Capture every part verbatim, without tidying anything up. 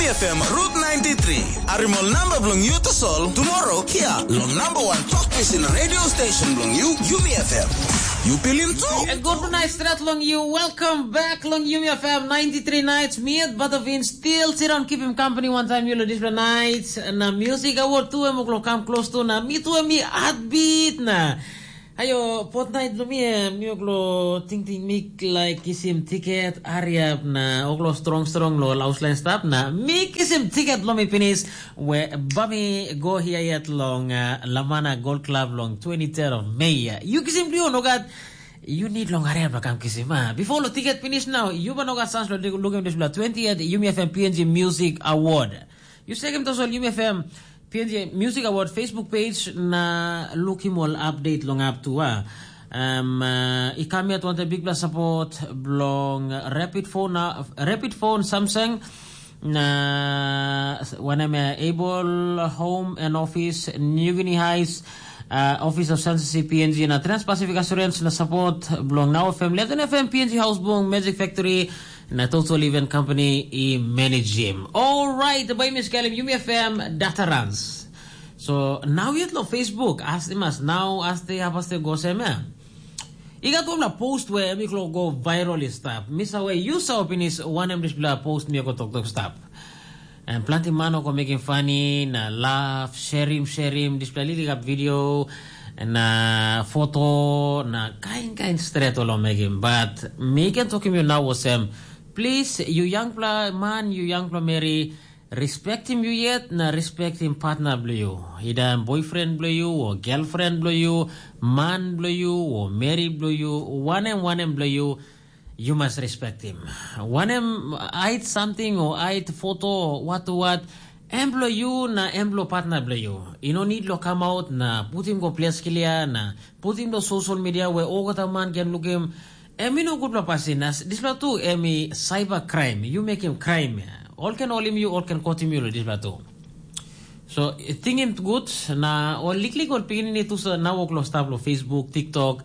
F M Route ninety-three. Arimol namba bilong yu tasol tomorrow kia long number one talk pisin radio station bilong yu, Yumi F M. Yu pilim tu. A good night strat long you. Welcome back long Yumi F M ninety-three nights. Me at Butterfin still sit on keep him company one time you lo this night. Na music award tu em oklo come close to na me tu em me heartbeat na. Ayo, fortnight lo mi em, mi oklo tingting mi like kisim tiket, hariap na oklo strong strong lo lauslen stap na mi kisim tiket lo mi pinis, we bami go hia yet long uh, Lamana Gold Club long twenty-third of May. You kisim liu nogat, you need long hariap na kam kisim. Ah. Before lo tiket pinis now, you ba nogat sans lo lukim dispela twentieth Yumi F M P N G Music Award. You sekim tasol Yumi F M P N G Music Award Facebook page na lukim ol update long up tu a. Um, uh, I kam yet wanted big plus support belong Rapid Phone, uh, Rapid Phone Samsung na wanem uh, Able Home and Office, New Guinea Heights, uh, Office of Census P N G na Trans-Pacific Assurance na support belong Now F M, Legend F M, P N G House Bung, Magic Factory, na Total Event Company i manage him. Alright, by Miss Kalim, Yumi F M, Data Runs. So, now yet lo Facebook, as mas now as they have us go same. I got one post where mi klo go viral is stap. Miss away, you saw pinis one em dispela post mi go tok tok stap. And plenty man go making funny, na laugh, share him, share him, dispela lili got video, na foto, na kain kain stret olo making. But mi can talk him you now was him. Please, you young pla man, you young pla Mary, respect him you yet, na respect him partner blue you. Either boyfriend blue you, or girlfriend blue you, man blue you, or Mary blue you, one em, one em blue you, you must respect him. Wanem ait something o ait foto o what to what, em bilong yu na em bilong partner bilong yu. I no need lo come out na putim go ples klia na putim lo social media we olgeta man can lukim. Em i no gutpela pasin na dispela tu em i cyber crime. You make him crime. All can holim you, all can kotim you lo dispela tu. So tingim gut na ol liklik ol pikinini tu sa na wok lo stap lo Facebook, TikTok,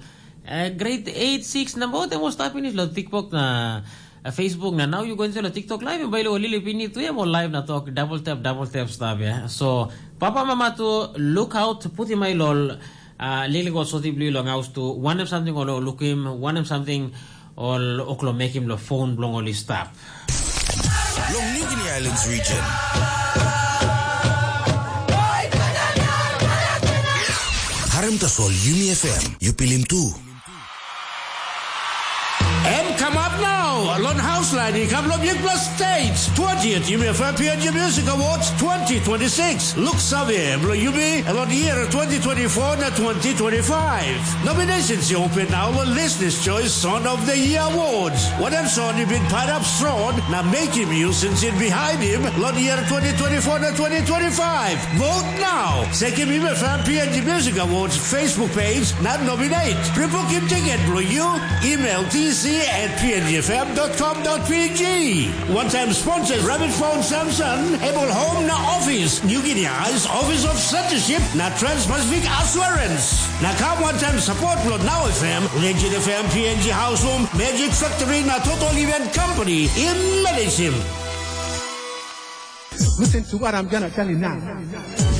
uh, grade eight, six na both em ol stap pinis lo TikTok na uh, Facebook na now you go into lo TikTok live em bai lo lili pini tu em ol live na tok double tap double tap stap ya. So papa mama tu look out putim ai lol uh, lili go soti bli long house tu wanem something ol lukim wanem something ol oklo mekim lo phone blong ol i stap. Long New Guinea Islands region. Harim tasol Yumi F M, you pilim tu. Em kamap nau, lon haus lain i kam long bikpela stage. Twentieth Yumi F M P N G Music Awards twenty twenty-six. Look save, bilong yumi, lon year twenty twenty-four na twenty twenty-five. Nominations i open nau long Listeners' Choice Song of the Year Awards. Wanem song i bin pairap strong na mekim yu sinsin bihainim long year twenty twenty-four na twenty twenty-five? Vote now! Sekim Yumi F M P N G Music Awards Facebook page na nominate. Pripukim tiket bilong yu, email T C at P N G F M dot com dot P G. One time sponsors Rabbit Phone Samson, Able Home na Office, New Guinea Eyes Office of Censorship na Trans-Pacific Assurance. Na kam wantaim support lo Now F M, Legend F M, P N G House Room, Magic Factory na Total Event Company i managim. Listen to what I'm gonna tell you now.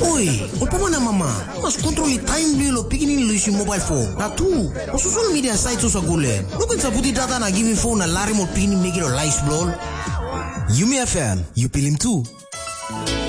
Oi, ol papa na mama, mas kontrol i taim bilong lo pikinini lusim mobile phone. Na tu, o social media site osa gule. No ken saputi data na givim phone na larim ol pikinini mekim lo lais bilong ol. Yumi F M, you pilim tu.